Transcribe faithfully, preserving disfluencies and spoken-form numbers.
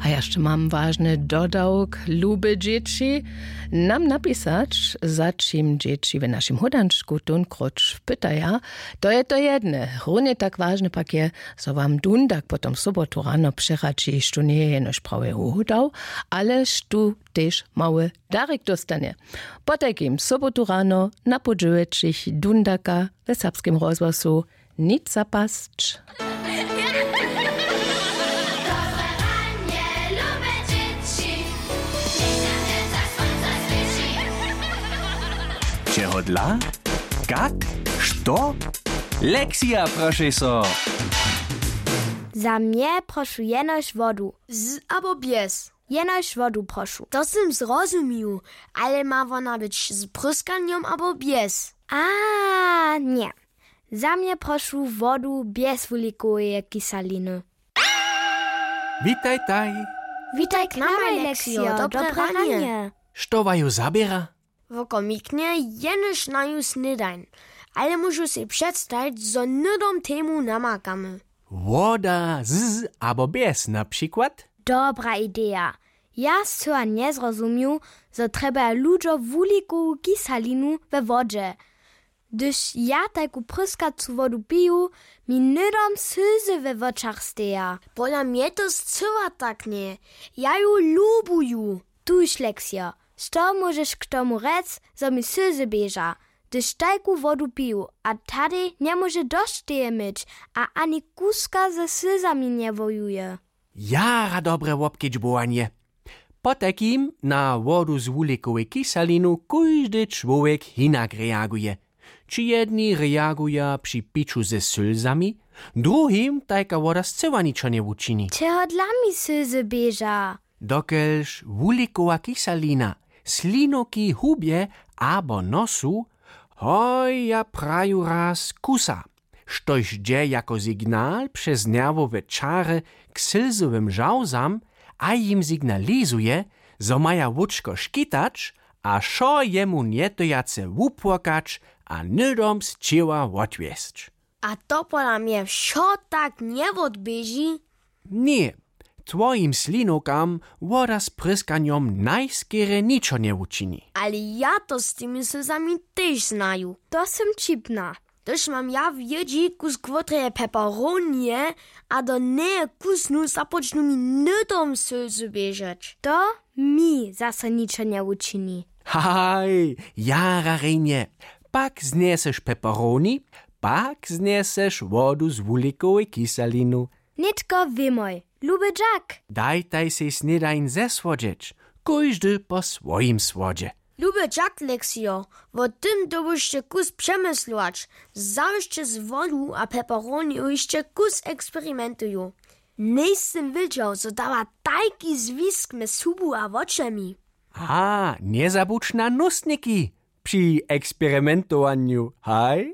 A ja sće mam wažny dodawk, lube dźěći, nam napisać, za čim dźěći w našim hódančku tónkróć pytaja. To je to jedne. Runje tak wažne pak je, zo wam dundak potom sobotu rano přeradźi, štó njeje jenož prawje hódał, ale štó tež mały darik dóstanje. Potajkim sobotu rano na pół dźewjećich dundaka w serbskim rozhłosu. Nic zapasć. Čehodla? Kak? Što? Lexija, prošej so. Za mnje prošu jenož wodu. Z abo bjez? Jenož wodu prošu. To sym zrozumił. Ale ma wona być z pryskanjom abo bjez? A, ně. Za mnje prošu wodu bjez wulikoweje kisaliny. Witajtaj. Witaj k namaj, Lexio. Dobre ranje. Što waju zaběra? Wokomiknje jenož naju snědań. Ale móžu sej předstajić, zo hnydom temu namakamy. Woda z abo bjez na přikład? Dobra ideja. Ja scyła njezrozumił, zo trjebaja ludźo wulikowu kisalinu we wodźe. Hdyž ja tajku pryskacu wodu piju, mi hnydom sylzy we wočach steja. Pola mnje to scyła tak njeje. Ja ju lubuju. Tuž, Lexio, što móžeš k tomu rjec, zo mi sylzy běža, hdyž tajku wodu piju, a tadej njemóže dosć teje myć a ani kuska ze sylzami njewojuje? Jara dobre wobkedźbowanje. Potajkim na wodu z wulikowej kisalinu kóždy čłowjek hinak reaguje. Ći jedni reaguja při piću ze sylzami, druhim tajka woda scyła ničo njewučini. Čehodla mi sylzy běža? Dokelž wulikowa kisalina slinoki hubje abo nosu, hoj, ja praju raz kusa, štož dźe jako signal přez nerwowe čary k sylzowym žałzam a jim signalizuje, zo maja łódźko škitać, a wšo jemu njetyjace wupłakać a hnydom z ćěła wotwjesć. A to pola mnje wšo tak njewotběži? Ně, twojim slinowkam woda z pryskanjom najskerje ničo njewučini. Ale ja to z tymi sylzami tež znaju. To sym ćipna. Hdyž mam ja w jědźi kusk wotreje peperonije a do njeje kusnu, započnu mi hnydom sylzy běžeć. To mi zaso ničo njewučini. Haj, jara rjenje. Pak znjeseš peperoni, pak znjeseš wodu z wulikowej kisalinu. Nětko wěmoj, luby dźak. Dajtaj sej snědań zesłodźeć, kóždy po swojim słodźe. Luby dźak, Lexio, wo tym dyrbušće kus přemyslować. Zawěsće z wodu a peperoniju hišće kus eksperimentuju. Njejsym wědźał, zo dawa tajki zwisk mjez hubu a wočemi. A njezabudź na nustniki při eksperimentowanju, haj?